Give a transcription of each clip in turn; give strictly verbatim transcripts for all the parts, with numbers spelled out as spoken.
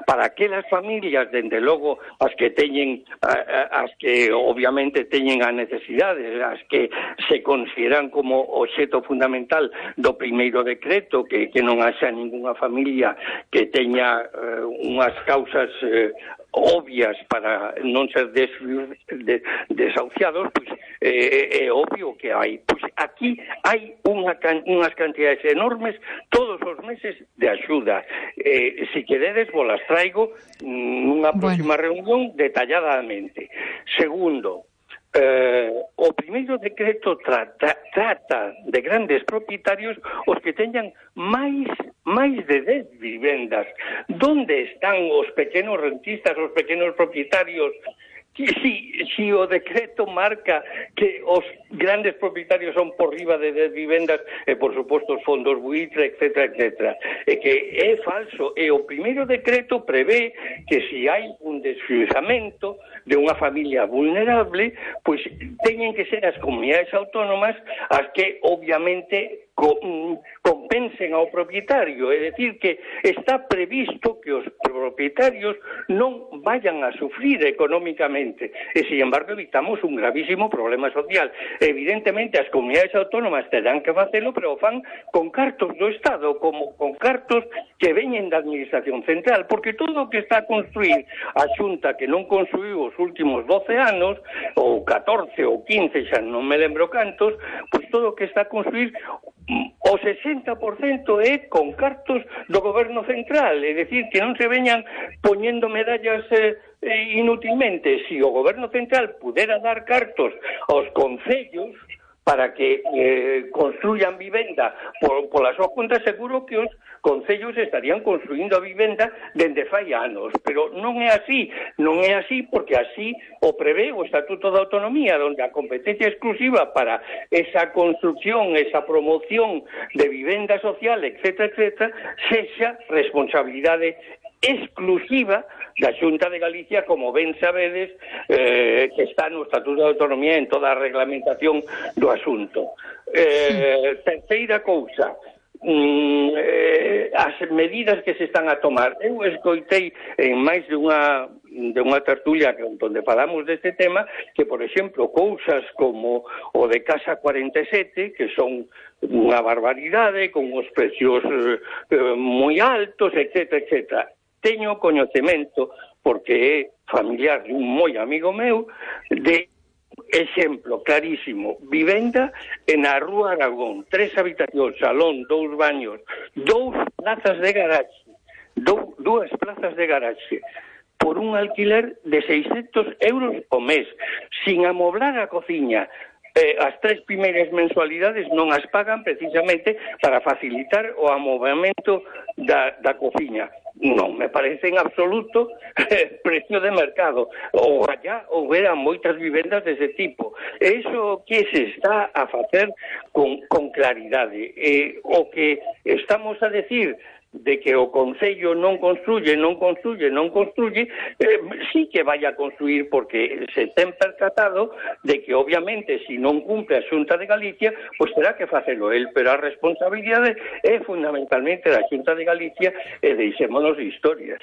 para aquelas familias, dende logo, as que teñen, as que obviamente teñen a necesidade, as que se consideran como obxecto fundamental do primeiro decreto, que, que non haxa ninguna familia que teña uh, unhas causas uh, obvias para non ser des, de, desahuciados, pois eh, é obvio que hai. Pois aquí hai unha, unhas cantidades enormes todos os meses de axuda. Eh, si queredes, vos las traigo nunha próxima bueno. reunión detalladamente. Segundo, Eh, o primeiro decreto trata, trata de grandes propietarios os que teñan máis máis de dez vivendas. Donde están os pequenos rentistas, os pequenos propietarios? Si, si o decreto marca que os grandes propietarios son por riba de dez vivendas, e por suposto os fondos buitre, etcétera, etcétera, e que é falso. E o primeiro decreto prevé que si hai un desfizamento de unha familia vulnerable, pois teñen que ser as comunidades autónomas as que obviamente compensen ao propietario, é dicir, que está previsto que os propietarios non vayan a sufrir económicamente, e, sin embargo, evitamos un gravísimo problema social. Evidentemente, as comunidades autónomas terán que facelo, pero fan con cartos do Estado, como con cartos que veñen da Administración Central, porque todo o que está a construir a Xunta, que non construiu os últimos doce anos, ou catorce ou quince, xa non me lembro cantos, pois todo o que está a construir o sesenta por cento é con cartos do goberno central, é dicir, que non se veñan poñendo medallas eh, inútilmente. Si o goberno central pudera dar cartos aos concellos para que eh, construyan vivenda por, por a súa conta, seguro que os concellos estarían construindo a vivenda dende fai anos, pero non é así, non é así porque así o prevé o Estatuto de Autonomía, onde a competencia exclusiva para esa construcción, esa promoción de vivenda social, etcétera, etcétera, sexa responsabilidade exclusiva da Xunta de Galicia, como ben sabedes, eh, que está no Estatuto de Autonomía en toda a reglamentación do asunto. Eh, terceira cousa, mm, eh, as medidas que se están a tomar. Eu escoitei en máis de unha de unha tertulia onde falamos deste tema que, por exemplo, cousas como o de Casa cuarenta e sete, que son unha barbaridade, con os precios eh, moi altos, etcétera, etcétera. Teño coñecemento, porque é familiar de un moi amigo meu, de exemplo clarísimo, vivenda en a Rúa Aragón, tres habitacións, salón, dous baños, dous plazas de garaxe, dou, dúas plazas de garaxe, por un alquiler de seiscentos euros o mes, sin amoblar a cociña. Eh, as tres primeiras mensualidades non as pagan precisamente para facilitar o amovamento da, da cociña. Non me parece en absoluto eh, precio de mercado. Ou allá houbera moitas vivendas dese tipo. Eso que se está a facer con, con claridade. Eh, o que estamos a decir de que o Concello non construye, non construye, non construye, eh, sí que vai a construir, porque se ten percatado de que, obviamente, se si non cumpre a Xunta de Galicia, pois terá que facelo el, pero a responsabilidade é fundamentalmente da Xunta de Galicia, e deixémonos de historias.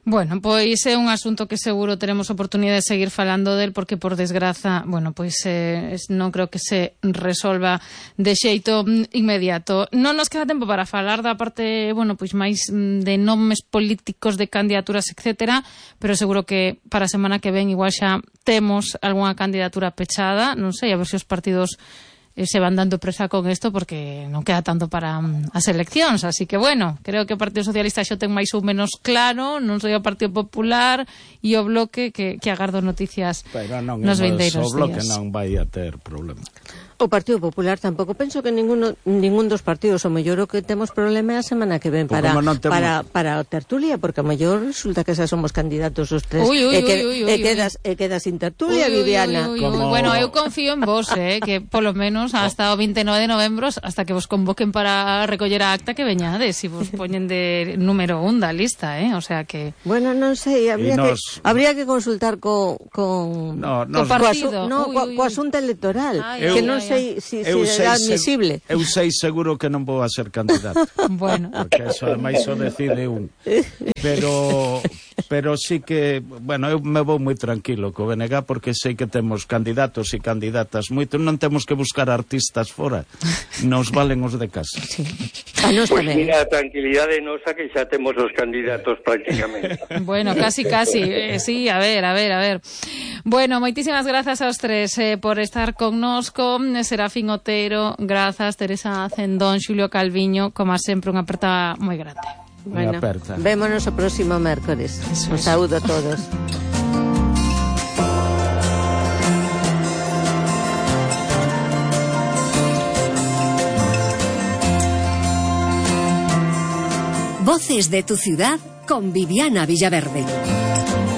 Bueno, pois é un asunto que seguro teremos oportunidade de seguir falando del, porque por desgraza, bueno, pois eh, non creo que se resolva de xeito inmediato. Non nos queda tempo para falar da parte, bueno, pois máis de nomes políticos, de candidaturas, etcétera, pero seguro que para a semana que ven igual xa temos algunha candidatura pechada, non sei, a ver se os partidos se van dando presa con isto, porque non queda tanto para um, as eleccións, así que bueno, creo que o Partido Socialista xo ten máis ou menos claro, non sei o Partido Popular e o Bloque, que, que agardo noticias non, nos vindeiros días. O Bloque non vai a ter problema. O Partido Popular tampouco, penso que ninguno, ningún dos partidos, o mellor o que temos problema é a semana que ven para, temos... para, para a tertulia, porque o mellor resulta que xa somos candidatos os tres, uy, uy, e, que, uy, uy, e, quedas, e quedas sin tertulia, uy, Viviana. Uy, uy, uy, Como... Bueno, eu confío en vos, eh, que polo menos hasta o vinte e nove de novembro, hasta que vos convoquen para recoller a acta, que veñades, e vos poñen de número un da lista, eh, o sea que... Bueno, non sei, habría, nos... que, habría que consultar co, con, no, nos... co partido. Co, no, uy, co, uy, co asunto electoral, ay, que ay, non ay, sei se si, si é admisible. Eu sei seguro que non vou a ser candidato. Bueno. Porque eso ademais o decide un. Pero pero sí que, bueno, eu me vou moi tranquilo co B N G porque sei que temos candidatos e candidatas moito, non temos que buscar artistas fora. Nos valen os de casa. Sí. A nos pues tamén. Mira, tranquilidade nosa que xa temos os candidatos prácticamente. Bueno, casi, casi. Eh, sí, a ver, a ver, a ver. Bueno, moitísimas grazas aos tres eh, por estar connosco. Serafín Otero, grazas, Teresa Cendón, Xulio Calviño, como sempre, unha aperta moi grande. Bueno, vémonos o próximo mércores. Un saúdo a todos. Voces de tu ciudad con Viviana Villaverde.